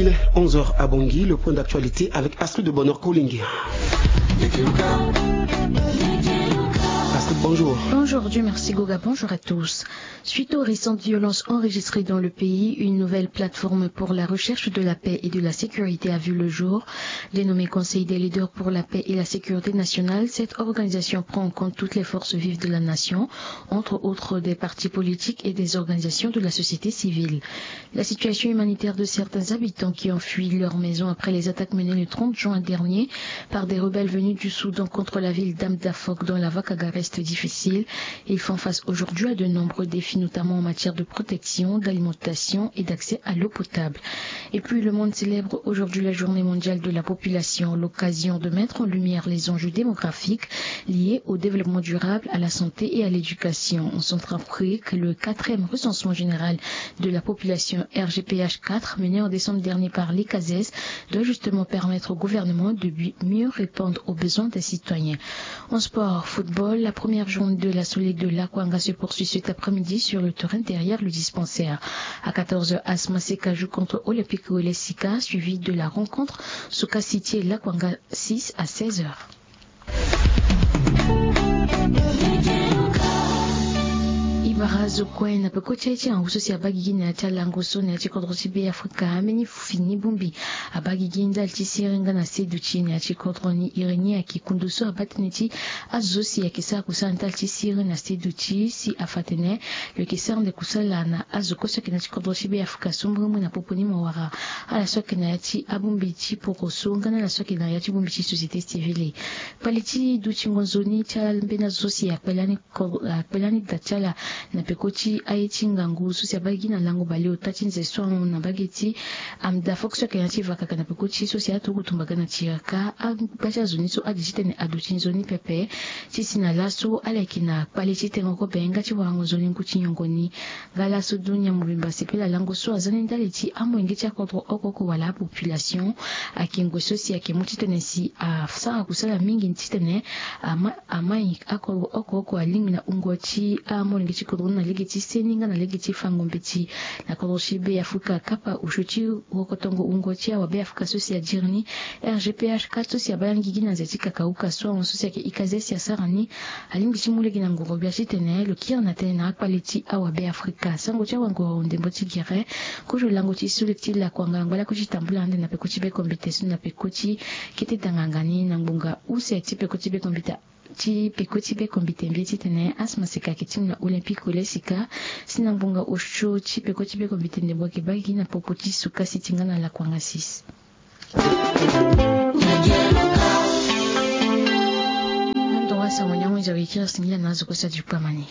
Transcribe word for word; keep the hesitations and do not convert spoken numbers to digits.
Il est onze heures à Bangui, le point d'actualité avec Astrid de Bonheur Kolingi. Astrid, bonjour. Bonjour, Dieu merci Goga, bonjour à tous. Suite aux récentes violences enregistrées dans le pays, une nouvelle plateforme pour la recherche de la paix et de la sécurité a vu le jour. Dénommée Conseil des leaders pour la paix et la sécurité nationale, cette organisation prend en compte toutes les forces vives de la nation, entre autres des partis politiques et des organisations de la société civile. La situation humanitaire de certains habitants qui ont fui leur maison après les attaques menées le trente juin dernier par des rebelles venus du Soudan contre la ville d'Amdafok dans la Vakaga reste difficile. Ils font face aujourd'hui à de nombreux défis, notamment en matière de protection, d'alimentation et d'accès à l'eau potable. Et puis, le monde célèbre aujourd'hui la journée mondiale de la population, l'occasion de mettre en lumière les enjeux démographiques liés au développement durable, à la santé et à l'éducation. En Centrafrique, le quatrième recensement général de la population R G P H quatre, mené en décembre dernier par l'ICASES, doit justement permettre au gouvernement de bi-, mieux répondre aux besoins des citoyens. En sport, football, la première journée de la Solide de Lakwanga se poursuit cet après-midi sur le terrain derrière le dispensaire. À quatorze heures, Asma Seka joue contre Olympique Wele Sika, suivi de la rencontre Suka City et Lakwanga six à seize heures. I bara zo kue na peko ti aye ti angu so si abaa gigi na ya ti alango so na ya ti kodro ti Be Afrika, ambeni fini bongbi abaa gigi ndali ti siriri nga na seduti na ya ti kodro ni. Iri ni ayeke kundu so abaa tënë ti azo so si ayeke sara kusala ndali ti siriri na seduti, si afa atene lo yeke sara nde kusala na azo kue so ayeke na ya ti kodro ti Be Afrika so mbirimbiri na popo ni mo wara ala so ayeke na ya ti abongbi ti poroso nga na ala so ayeke na ya ti bongbi ti société civile. Kpale ti dutingo nzoni ti ala mbeni azo so si akpelani ko-, akpelani da ti ala na peko ti aye ti ngangu so si abaa gigi na lango baleota ti nze so ahon na mbage ti Amdafok so ayeke na ya ti Vakaka na peko ti so si aturugu tumba ga na tiraka, angba ti azo ni so ade titene aduti nzoni pepe. Ti si na laso ala yeke na kpale ti tengo kobe nga ti warango nzoni ngu ti nyongo ni. Nga laso dunia mobimba asepela lango so aza ni ndali ti amolenge ti akodro oko oko wala apopulation. Ayeke ngoi so si ayeke mu titene si asara kusala mingi titene ama, amai akodro oko oko alingbi na wungo ti amolenge ti kodro ni na lege ti seni nga na lege ti fango mbeti. Na kodro ti Be Afrika kapa osio ti wokotongo wungo ti awa Be Afrika so si adiri ni R G P H quatre so si abaa gigi na nze ti kakauka so ahon so si ayeke ikaze si asara ni. Alingbi ti mu lege na ngoro gbia titene lo kiri na tënë na akpale ti awa Be Afrika. Sango ti awangoro ndembo ti gere kozo lango ti so lege ti lakuanga ngbalako ti tambula ande na peko ti bekombite so na peko ti kete danganga ni na ngbonga use ti peko ti bekombite ti peko ti bekombite mbie titene Asma Seka ayeke ti mu na Olympique Wele Sika, si na ngbonga osio ti peko ti bekombite ndembo ayeke baa gigi na popo ti Suka City nga na lakuanga six. Ndo wa sango ni ahunzi awe kiri singila na azo kue so adi kpamani.